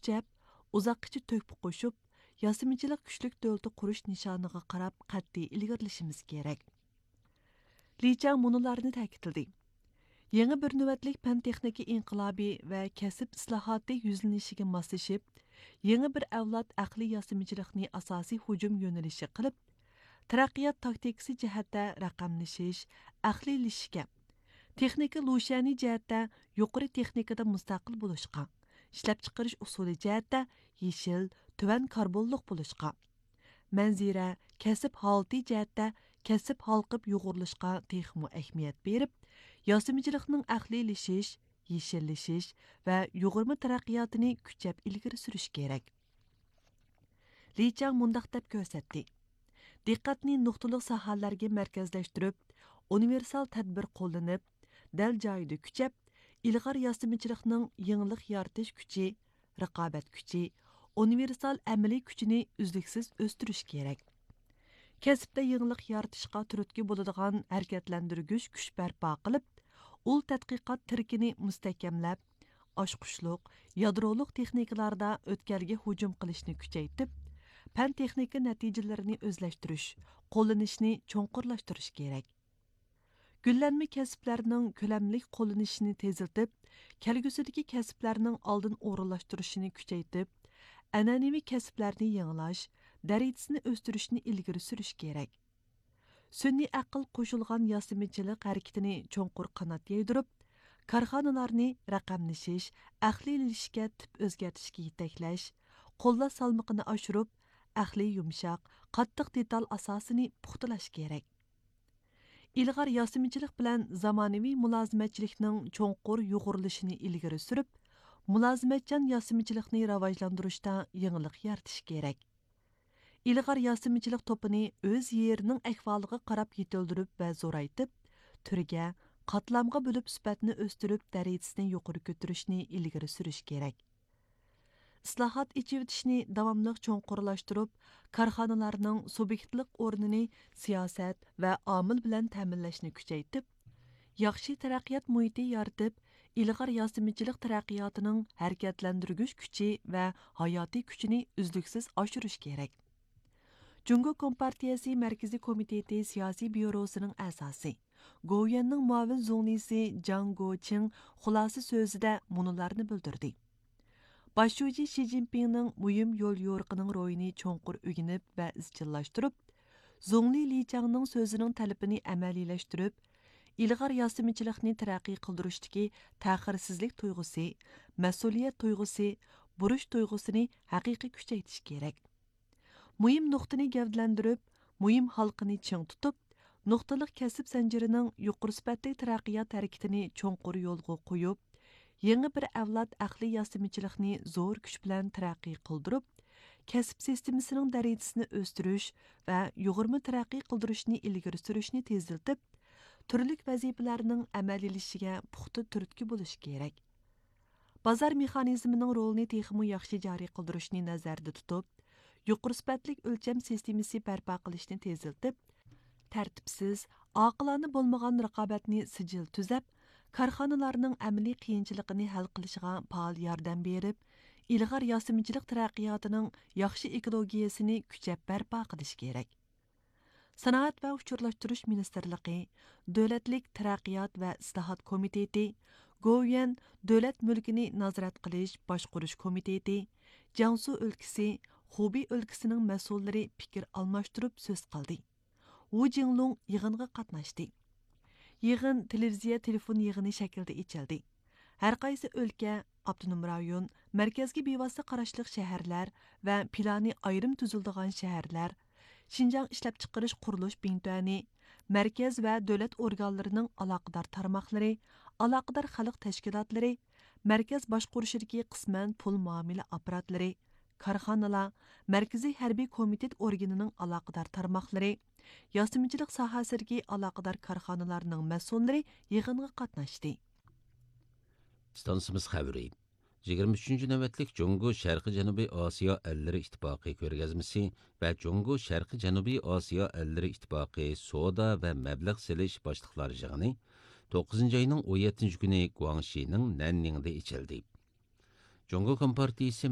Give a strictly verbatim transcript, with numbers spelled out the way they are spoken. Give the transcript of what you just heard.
كۈچەپ، ئۇزاققىچە تۆھپە قوشۇپ، ياسىمىچىلىق كۈچلۈك دۆلىتى قۇرۇش نىشانىغا قاراپ قەتئىي ئىلگىرىلىشىمىز كېرەك. لى چاڭ مۇنۇلارنى تەكىتلىدى: يېڭى بىر نۆۋەتلىك پەن تېخنىكا ئىنقىلابى ۋە كەسىپ ئىسلاھاتى يۈزلىنىشىگە ماسلىشىپ، يېڭى بىر ئەۋلاد ئەقلىي ياسىمىچىلىقنى ئاساسىي ھۇجۇم يۆنىلىشى قىلىپ، تەرەققىيات تاكتىكىسى جەھەتتە رەقەملىشىش، ئەقلىيلىشىشكە، تېخنىكا لۇشيەنى جەھەتتە يۇقىرى تېخنىكىدا مۇستەقىل بولۇشقا، ئىشلەپچىقىرىش ئۇسۇلى جەھەتتە يېشىل، تۆۋەن كاربونلۇق بولۇشقا، مەنزىرە، كەسىپ ھالىتى جەھەتتە كەسىپ ھالقىپ يۇغۇرۇلۇشقا تېخىمۇ ئەھمىيەت بېرىپ، ياسىمىچىلىقنىڭ ئەقلىيلىشىش، يېشىللىشىش ۋە يۇغۇرما تەرەققىياتىنى كۈچەپ ئىلگىرى سۈرۈش كېرەك. لى چاڭ مۇنداق دەپ كۆرسەتتى: دىققەتنى نۇقتىلىق ساھەلەرگە مەركەزلەشتۈرۈپ، ئۇنىۋېرسال تەدبىر قوللىنىپ، دەل جايىدا كۈچەپ، ئىلغار ياسىمىچىلىقنىڭ يېڭىلىق يارىتىش كۈچى، رىقابەت كۈچى، ئۇنىۋېرسال ئەمەلىي كۈچىنى ئۈزلۈكسىز ئۆستۈرۈش كېرەك. كەسىپتە يېڭىلىق يارىتىشقا تۈرتكە بولىدىغان ھەرىكەتلەندۈرگۈچ كۈچ بەرپا قىلىپ، ئۇل تەتقىقات تىرىكىنى مۇستەھكەملەپ، ئاچقۇچلۇق، يادرولۇق تېخنىكىلاردا ئۆتكەلگە ھۇجۇم قىلىشنى كۈچەيتىپ، پەن تېخنىكا نەتىجىلىرىنى ئۆزلەشتۈرۈش، قوللىنىشنى چوڭقۇرلاشتۇرۇش كېرەك. گۈللەنمە كەسىپلەرنىڭ كۆلەملىك قوللىنىشىنى تېزلىتىپ، كەلگۈسىدىكى كەسىپلەرنىڭ ئالدىن ئورۇنلاشتۇرۇشىنى كۈچەيتىپ، ئەنئەنىۋى كەسىپلەرنى يېڭىلاش دەرىجىسىنى ئۆستۈرۈشنى ئىلگىرى سۈرۈش كېرەك. سۈنئىي ئەقىل قوشۇلغان ياسىمىچىلىق ھەرىكىتىنى چوڭقۇر قانات يايدۇرۇپ، كارخانىلارنى رەقەملىشىش، ئەقلىيلىشىشكە تىپ ئۆزگەرتىشكە يېتەكلەش، قوللاش سالمىقىنى ئاشۇرۇپ، ئەقلىي يۇمشاق، قاتتىق دېتال ئاساسىنى پۇختىلاش كېرەك. ئىلغار ياسىمىچىلىق بىلەن زامانىۋى مۇلازىمەتچىلىكنىڭ چوڭقۇر يۇغۇرۇلۇشىنى ئىلگىرى سۈرۈپ، مۇلازىمەتچان ياسىمىچىلىقنى راۋاجلاندۇرۇشتا يېڭىلىق يارىتىش كېرەك. ئىلغار ياسىمىچىلىق توپىنى ئۆز يېرىنىڭ ئەھۋالىغا قاراپ يېتىلدۈرۈپ ۋە زورايتىپ، تۈرگە، قاتلامغا بۆلۈپ سۈپەتنى ئۆستۈرۈپ، دەرىجىسىنى يۇقىرى كۆتۈرۈشنى ئىلگىرى سۈرۈش كېرەك. ئىسلاھات، ئېچىۋېتىشنى داۋاملىق چوڭقۇرلاشتۇرۇپ، كارخانىلارنىڭ سۇبيېكتلىق ئورنىنى سىياسەت ۋە ئامىل بىلەن تەمىنلەشنى كۈچەيتىپ، ياخشى تەرەققىيات مۇھىتى يارىتىپ، ئىلغار ياسىمىچىلىق تەرەققىياتىنىڭ ھەرىكەتلەندۈرگۈچ كۈچى ۋە ھاياتىي كۈچىنى ئۈزلۈكسىز ئاشۇرۇش كېرەك. جۇڭگو كومپارتىيەسى مەركىزىي كومىتېتى سىياسىي بيۇروسىنىڭ ئەزاسى، گوۋۇيۈەننىڭ مۇئاۋىن زۇڭلىسى جاڭ گوچىڭ خۇلاسە سۆزىدە مۇنۇلارنى بىلدۈردى: باش شۇجى شى جىنپىڭنىڭ مۇھىم يوليورۇقىنىڭ روھىنى چوڭقۇر ئۆگىنىپ ۋە ئىزچىللاشتۇرۇپ، زۇڭلى لى چاڭنىڭ سۆزىنىڭ تەلىپىنى ئەمەلىيلەشتۈرۈپ، ئىلغار ياسىمىچىلىقنى تەرەققىي قىلدۇرۇشتىكى تەخىرسىزلىك تۇيغۇسى، مەسئۇلىيەت تۇيغۇسى، بۇرچ تۇيغۇسىنى ھەقىقىي كۈچەيتىش كېرەك. مۇھىم نۇقتىنى گەۋدىلەندۈرۈپ، مۇھىم ھالقىنى چىڭ تۇتۇپ، نۇقتىلىق كەسىپ زەنجىرىنىڭ يۇقىرى سۈپەتلىك تەرەققىيات ھەرىكىتىنى چوڭقۇر يولغا قويۇپ، يېڭى بىر ئەۋلاد ئەقلىي ياسىمىچىلىقنى زور كۈچ بىلەن تەرەققىي قىلدۇرۇپ، كەسىپ سىستېمىسىنىڭ دەرىجىسىنى ئۆستۈرۈش ۋە يۇغۇرما تەرەققىي قىلدۇرۇشنى ئىلگىرى سۈرۈشنى تېزلىتىپ، تۈرلۈك ۋەزىپىلەرنىڭ ئەمەلىيلىشىشىگە پۇختا تۈرتكە بولۇش كېرەك. بازار مېخانىزمىنىڭ رولىنى تېخىمۇ ياخشى جارى قىلدۇرۇشنى نەزەردە تۇتۇپ، يۇقىرى سۈپەتلىك ئۆلچەم سىستېمىسى بەرپا قىلىشنى تېزلىتىپ، تەرتىپسىز، ئاقىلانە بولمىغان رىقابەتنى سىجىل تۈزەپ، كارخانىلارنىڭ ئەمەلىي قىيىنچىلىقىنى ھەل قىلىشىغا پائال ياردەم بېرىپ، ئىلغار ياسىمىچىلىق تەرەققىياتىنىڭ ياخشى ئېكولوگىيەسىنى كۈچەپ بەرپا قىلىش كېرەك. سانائەت ۋە ئۇچۇرلاشتۇرۇش مىنىستىرلىقى، دۆلەتلىك تەرەققىيات ۋە ئىسلاھات كومىتېتى، گوۋۇيۈەن دۆلەت مۈلكىنى نازارەت قىلىش باشقۇرۇش كومىتېتى، جياڭسۇ ئۆلكىسى، خۇبېي ئۆلكىسىنىڭ مەسئۇللىرى پىكىر ئالماشتۇرۇپ سۆز قىلدى. ۋۇ جىڭلۇڭ يىغىنغا قاتناشتى. يىغىن تېلېۋىزىيە تېلېفون يىغىنى شەكلىدە ئېچىلدى. ھەرقايسى ئۆلكە، ئاپتونوم رايون، مەركەزگە بىۋاسىتە قاراشلىق شەھەرلەر ۋە پىلانى ئايرىم تۈزۈلىدىغان شەھەرلەر، شىنجاڭ ئىشلەپچىقىرىش قۇرۇلۇش بىڭتۈەنى، مەركەز ۋە دۆلەت ئورگانلىرىنىڭ ئالاقىدار تارماقلىرى، ئالاقىدار خەلق تەشكىلاتلىرى، مەركەز باشقۇرۇشىدىكى قىسمەن پۇل مۇئامىلە ئاپپاراتلىرى، كارخانىلار، مەركىزىي ھەربىي كومىتېت ئورگىنىنىڭ ئالاقىدار تارماقلىرى، ياسىمىچىلىق ساھەسىدىكى ئالاقىدار كارخانىلارنىڭ مەسئۇللىرى يىغىنغا قاتناشتى. ئىستانسىمىز خەۋىرى. يىگىرمە ئۈچىنچى نۆۋەتلىك جۇڭگو شەرقىي جەنۇبىي ئاسىيا ئەللىرى ئىتتىپاقى كۆرگەزمىسى ۋە جۇڭگو شەرقىي جەنۇبىي ئاسىيا ئەللىرى ئىتتىپاقى سودا ۋە مەبلەغ سېلىش باشلىقلار يىغىنى توققۇزىنچى ئاينىڭ ئون يەتتىنچى كۈنى گۇاڭشىنىڭ نەننىڭدە ئېچىلدى. جۇڭگو كومپارتىيىسى